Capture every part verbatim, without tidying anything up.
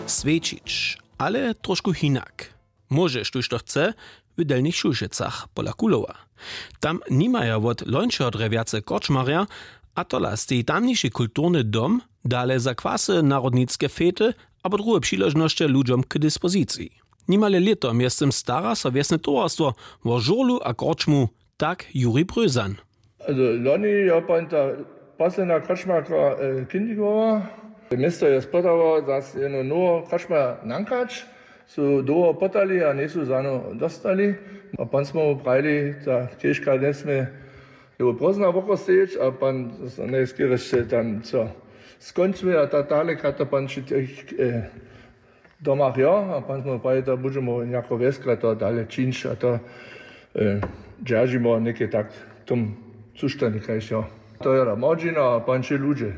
Swjećić, ale trošku hinak. Móže štóž to chce, w delnich šulšecach pola kulowa. Tam nimaja wot lońšeho drje wjace korčmarja, a tola steji tamniši kulturny dom, dale za kwasy, narodnicke fety abo druhe přiležnosće ludźom k dispoziciji. Nimale lěto mjeztym stara so wjesne towarstwo wo žurlu a korčmu, tak Juri Brözan. Also loni jo pan ta posledna krčmarka kindigowa. Město je spodało zas jednu nowu krčma nankać, su dołho potali a njejsu zano dostali. A pan smo mu prajili, ta kežka njesmě jowo prózdna wokostejeć, a pan najskerješće tam co skónčmy a ta tale krata pan ši tych domach jo, a pan smo prajili, to budźemo jako wjeska to dale čińć a to dźeržimo něke tak w tom suštanju kaž jo. To je da młodźina a panči ludźe.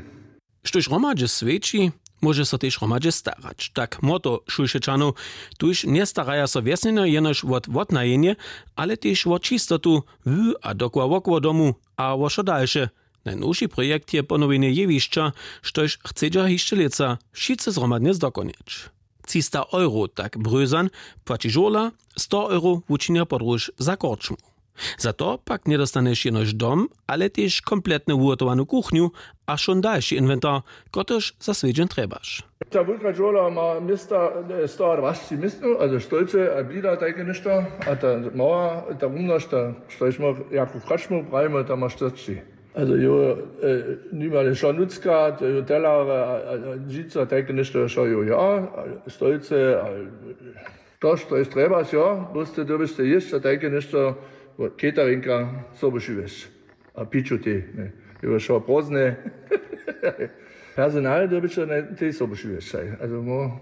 Štóž hromadźe swjeći, móže so tež hromadźe starać, tak młodych šulšečanow. Tuž njestaraja so wjesnjenjo jenož wot wotnajenje, ale tež wo čistotu w a dokoła wokoło domu a wo wšo dalše. Najnowši projekt je ponowjenje jewišća, štož chcedźa hišće lětsa wšitcy zhromadnje zdokonjeć. Třista euro, tak Brözan, płaći žurla, sto euro wučinja podróž za korčmu. Za to pak njedostanješ jenož dom, ale tež kompletnu wuhotowanu kuchnju a wšón dalši inwentar, kotryž za swjedźeń trjebaš. Ta wulka dźurla ma města stoadwaśćdźesat městnow, also stolce a blida tajke něšto, a ta mała, ta rumnosć, ta štož my jako krčmu prajimy, ta ma štyrćdźesat. Also jo, nimale wšo nutřka, to jo telar a žico tajke něšto wšo jo, jo, stolce a to što je trjebaš, jo, bóste dyrbiš te jěsć a tajke něšto, caterinka sobuši wjesć a piću tej, jo, wšo prózdne. Personal dyrbiš te sobuši wjesć. Also mo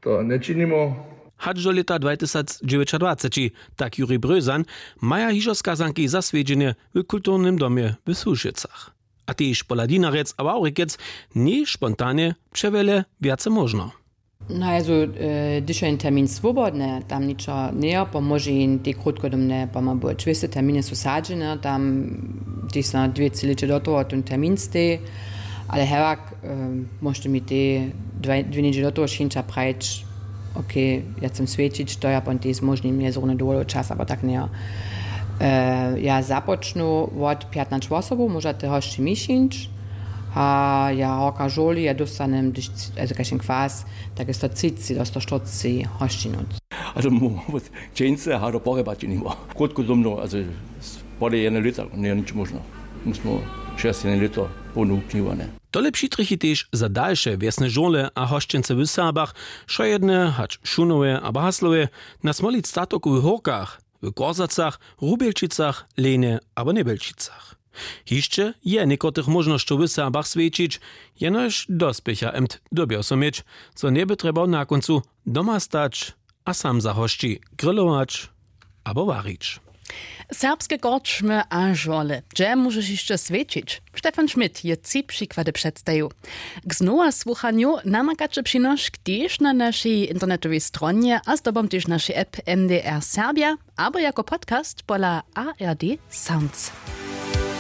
to nječinimo. Hač do lěta dwatysacdźewjećadwaceći, tak Juri Brözan, maja hižo skazanki za swjedźenje w kulturnym domje w Sušecach. A tež pola Dinarjec a Wawrikec njeje spontanje přewjele wjace móžno. No, also, hdyž je jen termin swobodny, tam ničo njeje, pomóže jen tej krótkodomne, pomóže, dwěsty terminy su sadźene, tam tež so dwě tři lěće do toho ten termin steji. Ale hewak, móžete mi te dwě njedźe do toho šinča prajić, okay, ja chcem swjećić, to ja pon tej zmóžnim, je zrówny dowolny čas abo tak njejo. Ja započnu wot pjatnaće wosobow, móža te hosći mi šinć. A ja horka žurli, ja dóstanem hdyž, also kaž ten kwas, tak je sto třiceći do sto štyrceći hosćinu. Also mu wot dźeńce a do porjeba činimo krótko domno, also pole jedne lěta njejo nič móžno. My smo šesć jedne lěto połnu kniwane. Tole přitrjechi tež za dalše wjesne žurle a hosćence w Serbach, wšojedne hač w Šunowje abo Haslowje, na Smolic statoku, w Hórkach, w Korzacach, Rubjelčicach, Lenje abo Njebjelčicach. Hišće je někotrych móžnosćow w Serbach swjećić, jenož dospěcha emt dyrbjał so měć, zo njeby trjebał na kóncu doma stać a sam za hosći grillować abo warić. Serbske korčmy a žurle, hdźe móžeš hišće swjećić? Stefan Schmidt je tři přikłady předstajił. K znowa słuchanju namakaće přinošk tež na našej internetowej stronje a zdobom tež našej app M D R Serbja abo jako podcast pola A R D Sounds.